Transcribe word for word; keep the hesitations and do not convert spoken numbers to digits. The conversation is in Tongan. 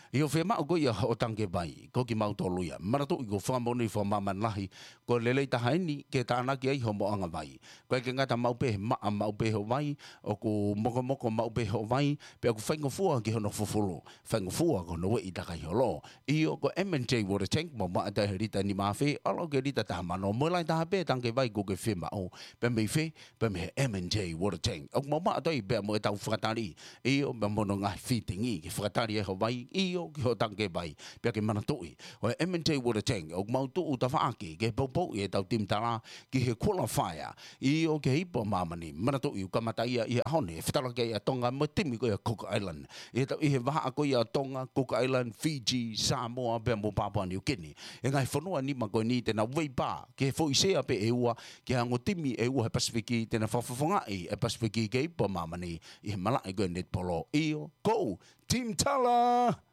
ʻIo, fiemaʻu ko ia hoʻo tangikē vai, ko kimautolu ia. Manatuʻi ko e fakamoʻoni fakamāmani lahi, ko e lelei taha eni ke tānaki ai hoʻomo ʻanga vai. ʻOku ʻikai ke ngata maʻu pē he maʻa maʻu pē hoʻo vai, ʻoku mokomoko maʻu pē hoʻo vai, pea ʻoku faingofua ki hono fufulu, faingofua ki hono ueʻi takai holo. ʻIo, ko e M and J Water Tank, maʻu maʻa ʻe taha he lita nima afe, ʻalu ki he lita taha mano, mo e lahi taha pē tangikē vai ʻoku ke fiemaʻu, pea mei fē, pea mei he M and J Water Tank. ʻOku maʻu maʻa ʻe taha pea mo ʻetau fakatali, ʻio, pea mo hono ngaahi fitting ke fakatali ai hoʻo vai, ʻio, ki hoʻo tangikē vai, pea ke manatuʻi. Ko e M and J Water Tank, ʻoku mau tuʻu tafaʻaki ke poupouʻi ʻetau timi tala ki he qualifier, ʻio, ki he Ipu ʻa Māmani, manatuʻi ʻoku kamata ia ʻi he ʻaho ni, ʻe fetalaki ai ʻa Tonga mo e timi ko ia ʻa Cook Island. ʻI he tau, ʻi he vahaʻa ko ia ʻa Tonga, Cook Island, Fiji, Samoa, pea mo Papua New Guinea. ʻE ngaahi fonua nima ko eni te nau veipā, ki he foʻi sea pē ʻe ua, ki he ongo timi ʻe ua he Pasifiki, te nau fakafofongaʻi e Pasifiki ki he Ipu ʻa Māmani, ʻi he malaʻe ko e netipolo. ʻIo, ko e timi tala!